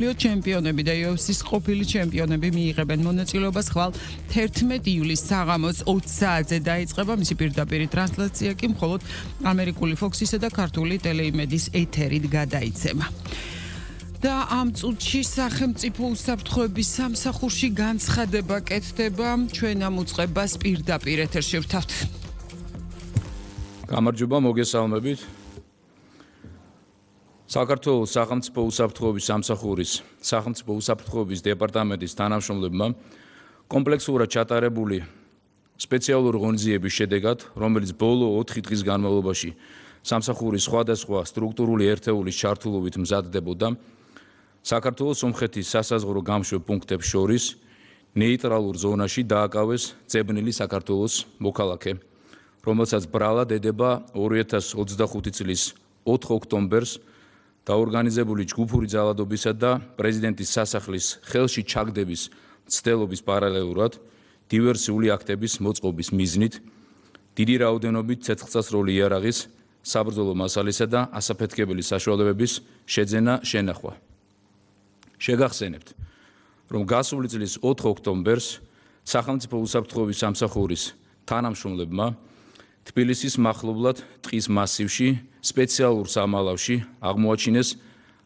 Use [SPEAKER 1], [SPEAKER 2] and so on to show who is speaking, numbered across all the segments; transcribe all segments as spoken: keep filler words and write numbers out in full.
[SPEAKER 1] ჩემპიონები და იუ ეფ სის ყოფილი ჩემპიონები მიიღებენ მონაწილეობას ხვალ თერთმეტი ივლისს საღამოს ოცი საათზე დაიწყება მისი პირდაპირი ტრანსლაცია კი მხოლოდ ამერიკული Fox-ისა და ქართული ტელეიმედის ეთერით გადაიცემა. და ამ წუთში სახელმწიფო უსაფრთხოების სამსახურში განცხადება კეთდება ჩვენ ამ უწყებას პირდაპირ ეთერში ვთავთ.
[SPEAKER 2] გამარჯობა მოგესალმებით. საქართველოს სახელმწიფო უსაფრთხოების სამსახურის სახელმწიფო უსაფრთხოების დეპარტამენტის თანამშრომლებმა კომპლექსურად ჩატარებული სპეციალური ღონისძიების შედეგად, რომელიც ბოლო ოთხი დღის განმავლობაში სამსახურის სხვადასხვა სტრუქტურული ერთეულის ჩართულობით მზადდებოდა, საქართველოს სომხეთის სასაზღვრო გამშვებ პუნქტებს შორის ნეიტრალურ ზონაში დააკავეს ძებნილი საქართველოს მოქალაქე, რომელსაც ბრალად ედება ორი ათას ოცდახუთი წლის ოთხ ოქტომბერს დაორგანიზებული ჯგუფური ძალადობისა და პრეზიდენტის სასახლის ხელში ჩაგდების მცდელობის პარალელურად დივერსიული აქტების მოწყობის მიზნით დიდი რაოდენობით ცეცხლსასროლი იარაღის, საბრძოლო მასალისა და ასაფეთქებელი საშუალებების შეძენა შენახვა. შეგახსენებთ, რომ გასული წლის ოთხ ოქტომბერს სახელმწიფო უსაფრთხოების სამსახურის თანამშრომლებმა თბილისის მახლობლად ტყის მასივში სპეციალურ სამალავში აღმოაჩინეს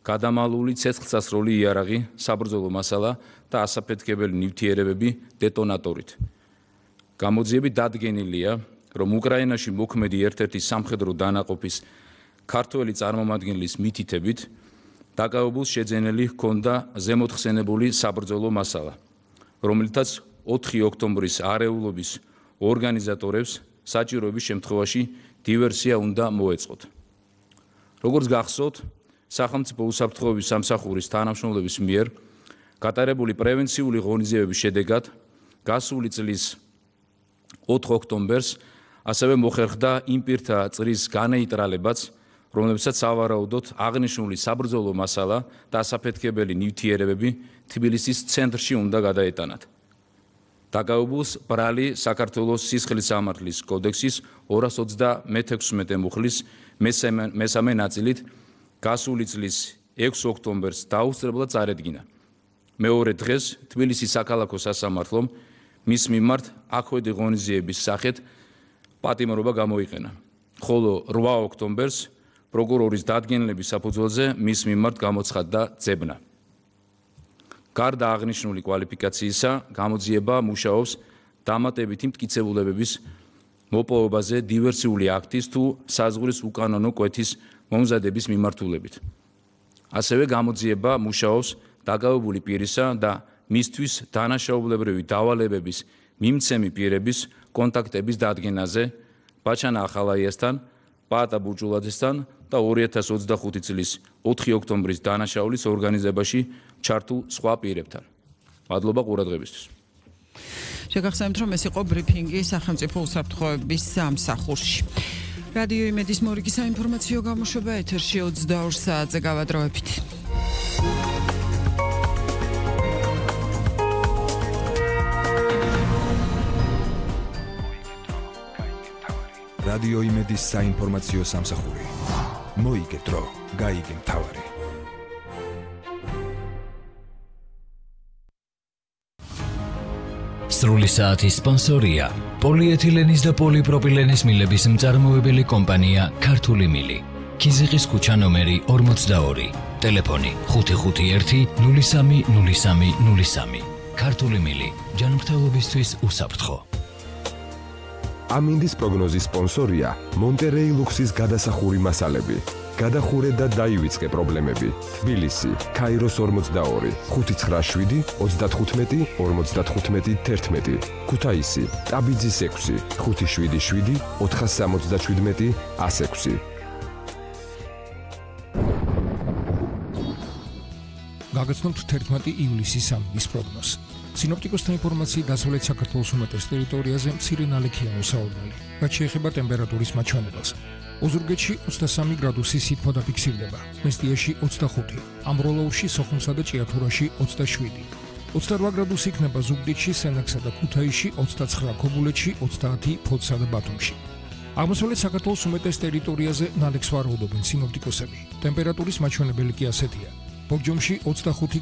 [SPEAKER 2] გადამალული ცეცხლსასროლი იარაღი, საბრძოლო მასალა და ასაფეთქებელი ნივთიერებები დეტონატორით. გამოძიებით დადგენილია, რომ უკრაინაში მოქმედი ერთ-ერთი სამხედრო დანაყოფის ქართველი წარმომადგენლის მითითებით დაკავებულს შეძენილი ჰქონდა ზემოთხსენებული საბრძოლო მასალა, რომლითაც ოთხი ოქტომბრის არეულობის ორგანიზატორებს საჭიროების შემთხვევაში დივერსია უნდა მოეწყოთ. როგორც გახსოვთ, სახელმწიფო უსაფრთხოების სამსახურის თანამშრომლების მიერ გატარებული პრევენციული ღონისძიებების შედეგად გასული წლის ოთხ ოქტომბერს ასევე მოხერხდა იმ პირთა წრის განეიტრალებაც, რომლებსაც სავარაუდოდ აღნიშნული საბრძოლო მასალა და ასაფეთქებელი ნივთიერებები თბილისის ცენტრში უნდა გადაეტანათ. დაკავებულს ბრალი საქართველოს სისხლის სამართლის კოდექსის ორას ოცდამეექვსმეტე მუხლის მესამე ნაწილით გასული წლის ექვსი ოქტომბერს დაუსწრებლად წარედგინა. მეორე დღეს თბილისის საქალაქო სასამართლომ მის მიმართ აქვედი ღონისძიების სახით პატიმრობა გამოიყენა, ხოლო რვა ოქტომბერს პროკურორის დადგენილების საფუძველზე მის მიმართ გამოცხადდა ძებნა. გარდა აღნიშნული კვალიფიკაციისა, გამოძიება მუშაობს დამატებითი მტკიცებულებების მოპოვებაზე დივერსიული აქტის თუ საზღვრის უკანონო კვეთის მომზადების მიმართულებით. ასევე გამოძიება მუშაობს დაკავებული პირისა და მისთვის დანაშაულებრივი დავალებების მიმცემი პირების კონტაქტების დადგენაზე ბაჩანა ახალაიასთან, პაატა ბურჯულაძესთან და ორი ათას ოცდახუთი წლის ოთხი ოქტომბრის დანაშაულის ორგანიზებაში ჩართულ სხვა პირებთან. მადლობა ყურადღებისთვის.
[SPEAKER 1] შეგახსენებთ, რომ ეს იყო ბრიფინგი სახელმწიფო უსაფრთხოების სამსახურში. რადიო იმედის მორიგი საინფორმაციო გამოშვება ეთერში ოცდაორ საათზე გავადროებით.
[SPEAKER 3] რადიო იმედის საინფორმაციო სამსახური. მოიგე დრო, გაიგე მთავარი.
[SPEAKER 4] სრული საათის სპონსორია პოლიეთილენის და პოლიპროპილენის მილების მწარმოებელი კომპანია ქართული მილი. ქიზიყის ქუჩა ნომერი ორმოცდაორი. ტელეფონი ხუთი ხუთი ერთი ნული სამი ნული სამი ნული სამი. ქართული მილი. ჯანმრთელობისთვის უსაფრთხო.
[SPEAKER 3] ამინდის პროგნოზის სპონსორია მონტერეი ლუქსის გადასახური მასალები. გადახურე და დაივიწყე პრობლემები. თბილისი, ქაიროს ორმოცდაორი, ხუთი ცხრა შვიდი ოცდათხუთმეტი ორმოცდათხუთმეტი თერთმეტი. ქუთაისი, ტაბიძის ექვსი, ხუთი შვიდი შვიდი ოთხას სამოცდაშვიდმეტი ას ექვსი.
[SPEAKER 5] გაგაცნობთ თერთმეტი ივლისის ამინდის პროგნოზს. სინოპტიკოსთა ინფორმაციით დასავლეთ საქართველოს უმეტეს ტერიტორიაზე მცირე ნალექიანი საორნელი, რაც შეეხება ტემპერატურის მაჩვენებელს. ოზურგეთში ოცდასამი გრადუსი სითბო დაფიქსირდება, მესტიაში ოცდახუთი, ამროლოურში, სოხუმსა და ჭიათურაში ოცდაშვიდი. ოცდარვა გრადუსი იქნება ზუგდიდში, სენაკსა და ქუთაისში, ოცდაცხრა ქობულეთში, ოცდაათი ფოთსა და ბათუმში. აღმოსავლეთ საქართველოს უმეტეს ტერიტორიაზე ნალექს ვარაუდობენ სინოპტიკოსები. ტემპერატურის მაჩვენებელი კი ასეთია. ბორჯომში ოცდახუთი